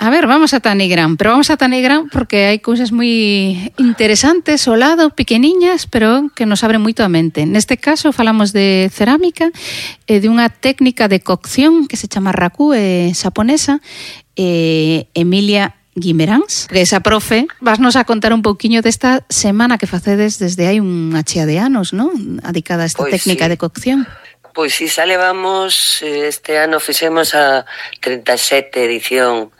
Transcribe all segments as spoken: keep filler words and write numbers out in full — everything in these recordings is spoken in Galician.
A ver, vamos a Tanigrán, pero vamos a Tanigrán porque hai cousas moi interesantes ao lado, pequeniñas, pero que nos abren moito a mente. Neste caso falamos de cerámica e de unha técnica de cocción que se chama raku, é xaponesa, e Emilia Guimeráns, que esa profe, vasnos a contar un pouquiño desta semana que facedes desde hai unha chea de anos, non? Adicada a esta Pois técnica sí. de cocción. Pois si, xa levamos, este ano fixemos a trinta e sete edición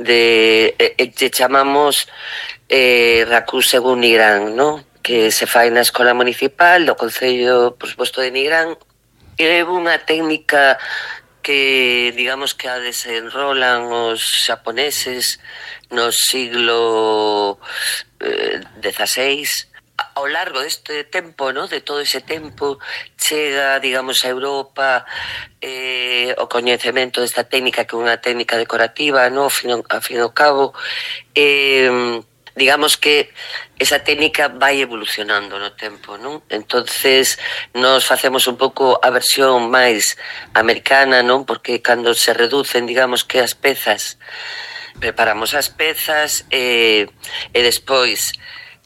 de, e, que chamamos eh, Raku según Nigrán, ¿no? Que se fai na Escola Municipal do Concello, por suposto, de Nigrán. É unha técnica que, digamos, que a desenrolan os xaponeses no siglo eh, dieciséis. Ao largo deste tempo, ¿no? De todo ese tempo, chega, digamos, a Europa eh, o coñecemento desta técnica, que é unha técnica decorativa, ¿no? A fin, a fin ao cabo, eh, digamos que esa técnica vai evolucionando no tempo, non? Entonces, nos facemos un pouco a versión máis americana, non? Porque cando se reducen, digamos, que as pezas, preparamos as pezas e, e despois,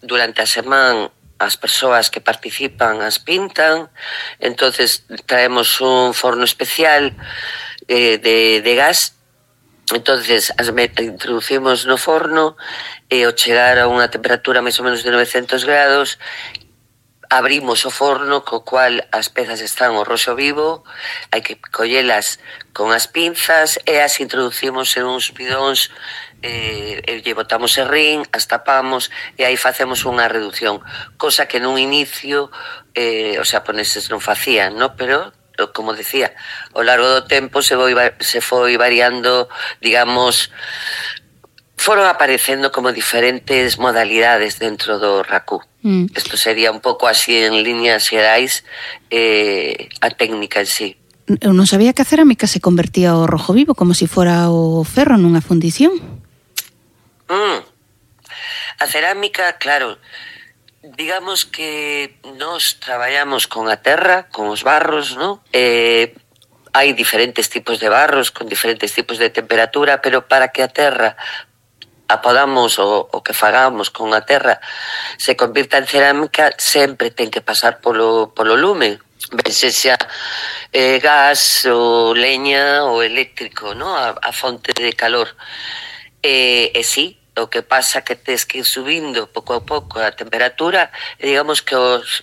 durante a semana, as persoas que participan as pintan, entonces traemos un forno especial eh, de, de gas, entonces as introducimos no forno e ao chegar a unha temperatura máis ou menos de novecentos grados, abrimos o forno, co cual as pezas están ao roxo vivo, hai que collelas con as pinzas e as introducimos en uns bidóns, eh, e lle botamos serrín, as tapamos e aí facemos unha reducción, cosa que nun inicio eh, os xaponeses non facían, no? Pero, como decía, ao largo do tempo se foi, se foi variando, digamos, foron aparecendo como diferentes modalidades dentro do raku. Mm. Isto sería un pouco así en líneas xerais eh, a técnica en sí. Eu non sabía que a cerámica se convertía ao rojo vivo como se si fora o ferro nunha fundición. Mm. A cerámica, claro, digamos que nos traballamos con a terra, con os barros, ¿no? Eh, hai diferentes tipos de barros con diferentes tipos de temperatura, pero para que a terra a podamos o, o que fagamos con a terra se convirta en cerámica, sempre ten que pasar polo, polo lume, ben sexa eh, gas ou leña ou eléctrico, ¿no? A, a fonte de calor. E, e sí, o que pasa que tes que ir subindo pouco a pouco a temperatura, e digamos que os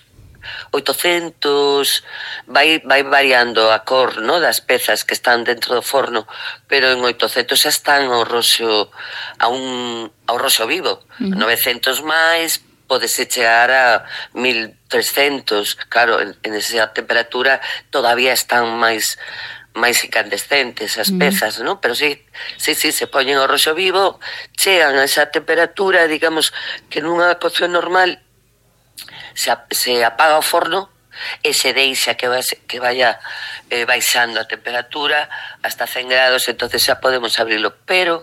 oitocentos vai, vai variando a cor, ¿no? Das pezas que están dentro do forno, pero en oitocentos xa están ao roxo, a un, ao roxo vivo. Uh-huh. novecentos máis, podese chegar a mil trescentos, claro, en, en esa temperatura todavía están máis máis incandescentes as pezas, mm. ¿no? Pero sí, sí, sí, se poñen ao roxo vivo, chegan a esa temperatura, digamos, que nunha cocción normal se, se apaga o forno e se deixa que, vai, que vaya eh, baixando a temperatura hasta cen grados, entonces xa podemos abrilo. Pero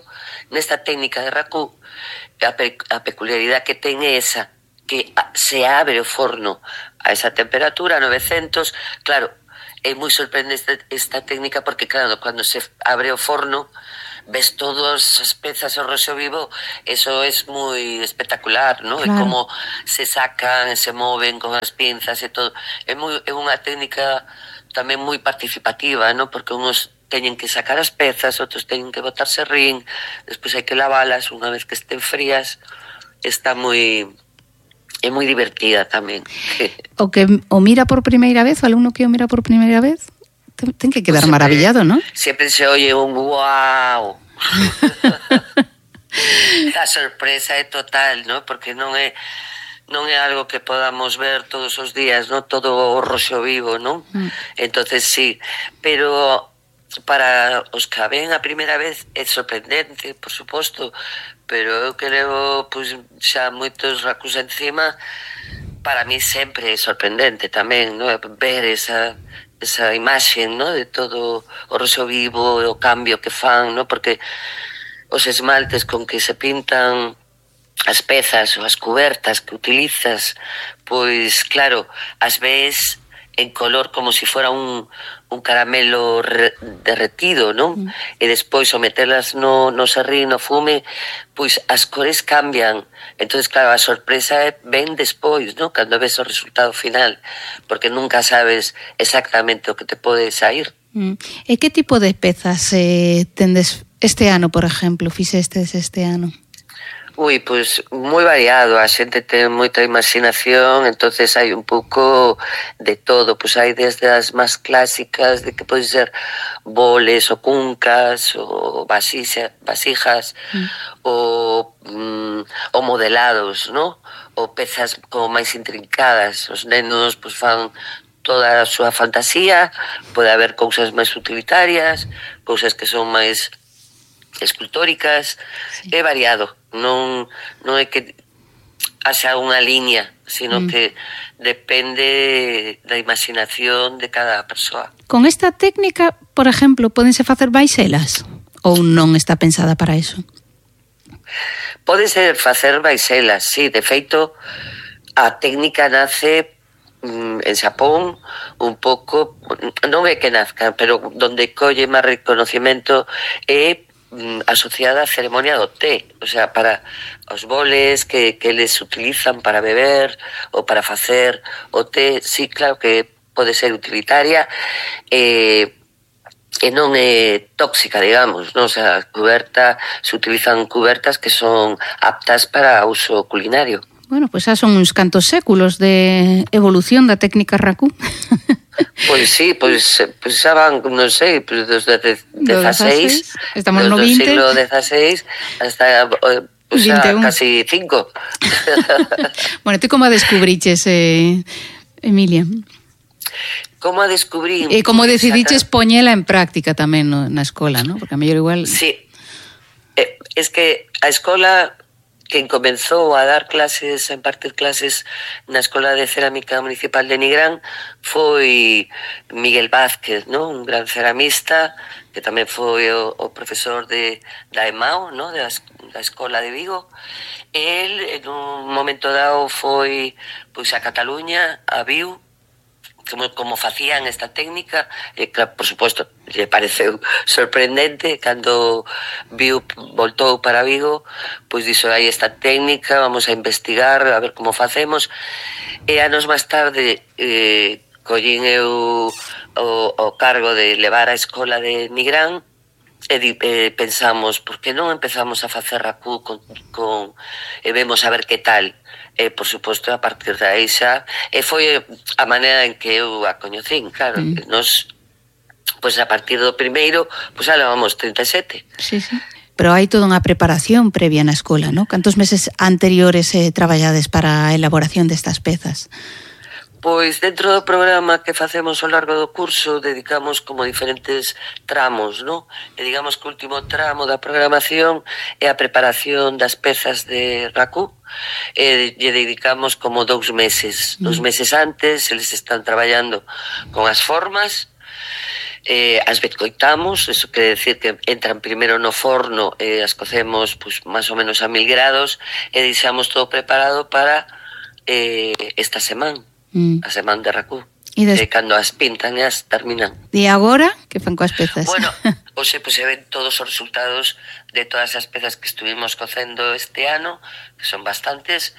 nesta técnica de raku, a, pe, a peculiaridade que ten é esa, que se abre o forno a esa temperatura, novecentos, claro, é moi sorprendente esta técnica porque, claro, cando se abre o forno ves todas as pezas ao roxo vivo, eso é moi espectacular, ¿no? Claro. É como se sacan, se moven con as pinzas e todo. É, moi, é unha técnica tamén moi participativa, ¿no? Porque uns teñen que sacar as pezas, outros teñen que botar serrín, despois hai que lavalas unha vez que estén frías. Está moi... é moi divertida tamén. O que o mira por primeira vez, o alumno que o mira por primeira vez, ten que quedar sempre, maravillado, ¿no? Sempre se oye un wow. A sorpresa é total, ¿no? Porque non é non é algo que podamos ver todos os días, ¿no? Todo o roxo vivo, ¿no? Mm. Entonces sí, pero para os que a ven a primeira vez é sorprendente, por suposto, pero eu que levo pois, xa moitos rakus encima, para mí sempre é sorprendente tamén, ¿no? Ver esa, esa imaxe, ¿no? De todo o roxo vivo, o cambio que fan, ¿no? Porque os esmaltes con que se pintan as pezas ou as cubertas que utilizas, pois claro, ás veces en color como si fuera un, un caramelo re, derretido, non? Mm. E despois ao metelas no, no serrín, no fume, pois as cores cambian. Entonces, claro, a sorpresa é ben despois, non? Cando ves o resultado final, porque nunca sabes exactamente o que te pode sair. Mm. E que tipo de pezas eh, tendes este ano, por exemplo, fixestes este ano? Ui, pois moi variado, a xente ten moita imaginación, entonces hai un pouco de todo, pois hai desde as máis clásicas, de que pode ser boles ou cuncas ou vasija, vasijas, mm. ou, mm, ou modelados, ¿no? Ou pezas como máis intrincadas, os nenos pois fan toda a súa fantasía, pode haber cousas máis utilitarias, cousas que son máis escultóricas, sí. É variado, non, non é que haxa unha liña, sino mm. que depende da imaginación de cada persoa. Con esta técnica, por exemplo, pódense facer baiselas ou non está pensada para iso? Pódense facer baiselas, sí, de feito a técnica nace en Xapón un pouco, non é que nazca, pero donde colle máis reconocimiento é asociada á ceremonia do té, o sea, para os boles que, que les utilizan para beber ou para facer o té, sí, claro que pode ser utilitaria e, e non é tóxica, digamos, non? O sea, cuberta, se utilizan cubertas que son aptas para uso culinario. Bueno, pois pues xa son uns cantos séculos de evolución da técnica Raku. Pois sí, pois, pois xa van, non sei, pois desde dezaseis, estamos no vinte, do siglo dezaseis hasta pois xa casi cinco. Bueno, ti como a descubriches, eh, Emilia? Como a descubrí? E como decidiches poñela en práctica tamén no, na escola, ¿no? Porque a mellor igual... Sí, eh, es que a escola... quen comenzou a dar clases, a impartir clases na Escola de Cerámica Municipal de Nigrán foi Miguel Vázquez, ¿no? Un gran ceramista que tamén foi o, o profesor de, da E M A O, ¿no? Da, da Escola de Vigo. El, en un momento dado, foi pois, a Cataluña, a viu, como, como facían esta técnica, e, claro, por suposto, lle pareceu sorprendente cando viu, voltou para Vigo, pois dixo, hai esta técnica, vamos a investigar, a ver como facemos, e anos máis tarde eh, collín eu o, o cargo de levar a escola de Nigrán, e eh, pensamos, por que non empezamos a facer Raku con, con, e vemos a ver que tal. E, por suposto, a partir de aí xa, e foi a maneira en que eu a coñecín, claro, mm. nos, pois a partir do primeiro, pois xa levamos trinta e sete. Sí, sí. Pero hai toda unha preparación previa na escola, ¿no? Cantos meses anteriores eh, traballades para a elaboración destas pezas? Pois dentro do programa que facemos ao largo do curso dedicamos como diferentes tramos, ¿no? E digamos que o último tramo da programación é a preparación das pezas de Raku, e lle dedicamos como dous meses. Mm. Dous meses antes eles están traballando con as formas, eh, as betcoitamos, eso quere decir que entran primeiro no forno e as cocemos pues, máis ou menos a mil grados e deixamos todo preparado para eh, esta semana. Mm. A semana de Raku. E des... eh, cando as pintan e as terminan. E agora, que fan coas pezas? Bueno, hoxe pues, se ven todos os resultados de todas as pezas que estuvimos cocendo este ano, que son bastantes.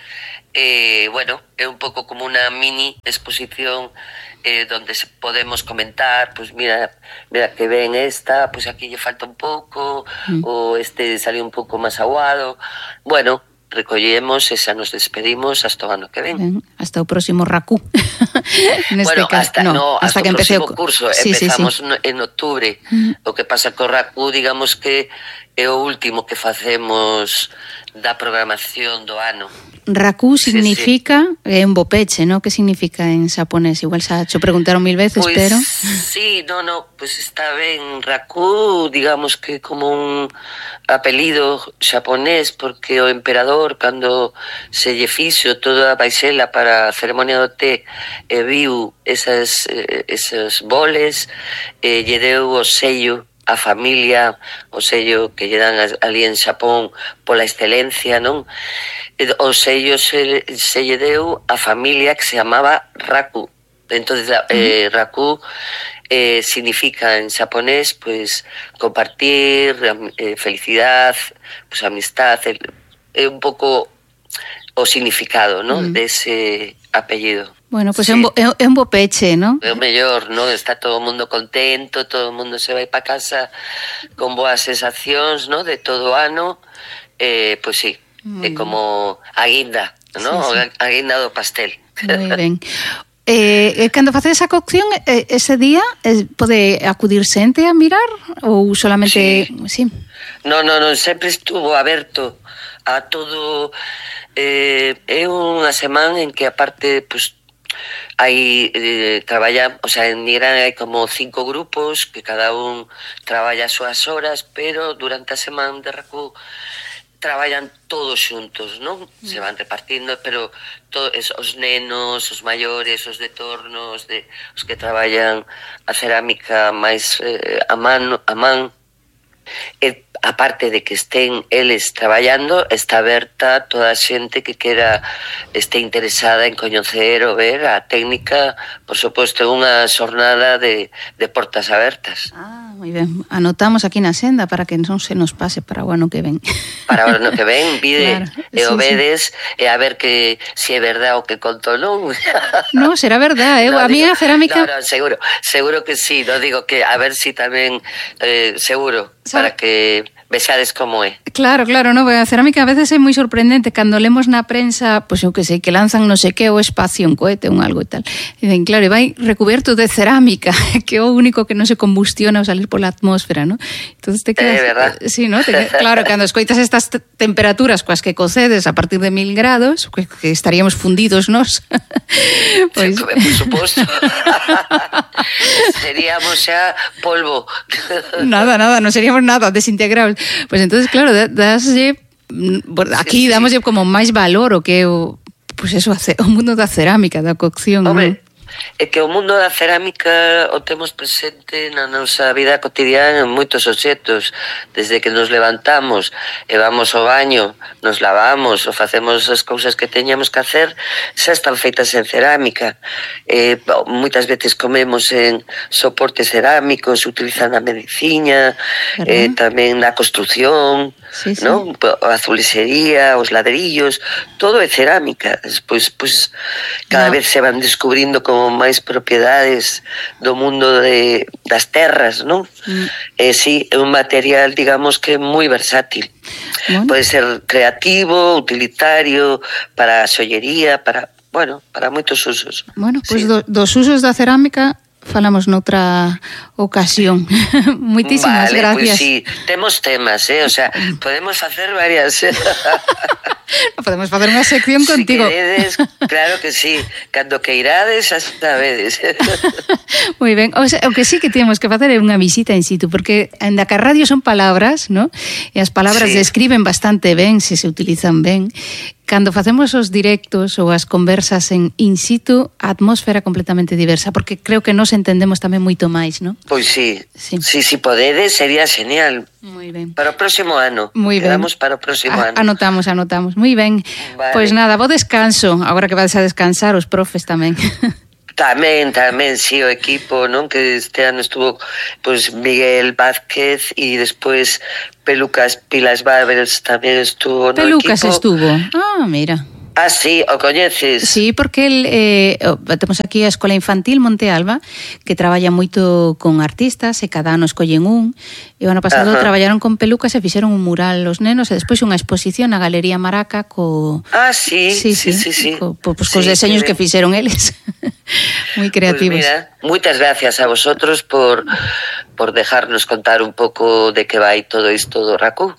Eh, bueno, é un pouco como unha mini exposición eh, donde se podemos comentar, pues mira, mira que ven esta, pues aquí lle falta un pouco, mm. ou este salió un pouco máis aguado. Bueno, recollemos e xa nos despedimos hasta o ano que ven. Ben, hasta o próximo Raku. Bueno, caso, hasta, no, no, hasta, hasta que o próximo o... curso. Sí, empezamos sí, sí. en octubre. Mm. O que pasa co Raku, digamos que é o último que facemos da programación do ano. Raku significa, sí, sí. É un bopeche, ¿no? Que significa en xaponés? Igual xa cho preguntaron mil veces, pues, pero... Sí, no, no, pues está ben. Raku, digamos que como un apelido xaponés, porque o emperador, cando se lle fixo toda a baixela para a ceremonia do té, e viu esas, eh, esos boles, e lle deu o sello a familia, o sello que lle dan ali en Xapón pola excelencia, non? O sello se, se lle deu a familia que se chamaba Raku. Entonces, eh, uh-huh. Raku eh, significa en japonés, pues, compartir, eh, felicidad, pues, amistad, el, eh, un pouco o significado, ¿no? Uh-huh. De ese apellido. Bueno, pues sí. é, un bo, é un bo peche, ¿no? É o mellor, ¿no? Está todo o mundo contento, todo o mundo se vai para casa con boas sensacións, ¿no? De todo o ano, eh, pues sí, é como a guinda, ¿no? Sí, sí. A guinda do pastel. Moi ben. Eh, cando facedes a cocción, eh, ese día eh, pode acudir xente a mirar ou solamente... Sí. sí. No, no, no, sempre estuvo aberto a todo... Eh, é unha semana en que aparte, pues, hai eh, traballa, o sea, en Nigrán hai como cinco grupos que cada un traballa as súas horas, pero durante a semana de Raku traballan todos xuntos, non? Se van repartindo, pero todo, es, os nenos, os maiores, os de torno, os, de, os que traballan a cerámica máis eh, a man, a man e, aparte de que estén eles traballando, está aberta toda a xente que quera este interesada en coñecer ou ver a técnica, por suposto, unha xornada de, de portas abertas. Ah, moi ben. Anotamos aquí na senda para que non se nos pase para o ano que ven. Para o ano que ven, vide, claro, e o sí, vedes, sí. E a ver que se si é verdade o que conto, non? No, será verdade, eh? No, a mí a cerámica... No, no, seguro, seguro que sí, no digo que a ver si tamén, eh, seguro, para que... vexades como é. Claro, claro, no, a cerámica a veces é moi sorprendente cando lemos na prensa, pois pues, eu que sei, que lanzan non sei que o espacio, un cohete, un algo e tal. E dicen, claro, vai recubierto de cerámica, que é o único que non se combustiona ao salir pola atmósfera, ¿no? Entonces te quedas... É verdad. Sí, ¿no? Te, claro, cando escoitas estas t- temperaturas coas que cocedes a partir de mil grados, que, que estaríamos fundidos nos. Pois... Por suposto. Seríamos xa polvo. Nada, nada, non seríamos nada, desintegrables. Pues entonces, claro, daslle aquí sí, sí, damoslle como máis valor o que o, pues eso, o mundo da cerámica, da cocción. Hombre, ¿no? É que o mundo da cerámica o temos presente na nosa vida cotidiana en moitos obxectos, desde que nos levantamos e vamos ao baño, nos lavamos ou facemos as cousas que teñamos que hacer, xa están feitas en cerámica. Eh, moitas veces comemos en soportes cerámicos, utilizan na medicina, eh, tamén na construción, sí, sí. ¿No? A azulexería, os ladrillos, todo é cerámica. Despois, pues, cada no. vez se van descubrindo como máis propiedades do mundo de, das terras, non? Mm. E si, é un material, digamos, que é moi versátil. Bueno. Pode ser creativo, utilitario, para a xollería, para, bueno, para moitos usos. Bueno, pois pues sí. do, dos usos da cerámica falamos noutra ocasión. Moitísimas vale, gracias. Pues sí, temos temas, eh, o sea, podemos facer varias. Podemos facer unha sección contigo. Si queredes, claro que sí, cando que irades, xa sabedes. Moi ben, o, sea, o que sí que temos que facer é unha visita in situ, porque en da que a radio son palabras, ¿no? E as palabras sí. describen bastante ben, se se utilizan ben. Cando facemos os directos ou as conversas en in situ, a atmósfera completamente diversa, porque creo que nos entendemos tamén moito máis, ¿no? Pois sí, sí, si sí, podedes, sería genial. Moi ben. Para o próximo ano. Moi ben. Quedamos para o próximo a, ano. Anotamos, anotamos. Moi ben. Vale. Pois nada, bo descanso, agora que vades a descansar, os profes tamén. Tamén, tamén, sí, o equipo, non? Que este ano estuvo, pues, Miguel Vázquez e despois Pelucas Pilas Barbers tamén estuvo no Pelucas equipo. Pelucas estuvo. Ah, mira. Ah, sí, o coñeces? Sí, porque el, eh, temos aquí a Escola Infantil Monte Alba, que traballa moito con artistas, e cada ano escollen un, e o ano pasado Ajá. traballaron con Pelucas e fixeron un mural los nenos, e despois unha exposición na Galería Maraca co... Ah, sí, sí, sí, sí, sí. Co, po, pues, cos sí, deseños sí, que fixeron eles. Moi creativos. Pues mira, moitas gracias a vosotros por, por dejarnos contar un pouco de que vai todo isto do Raku.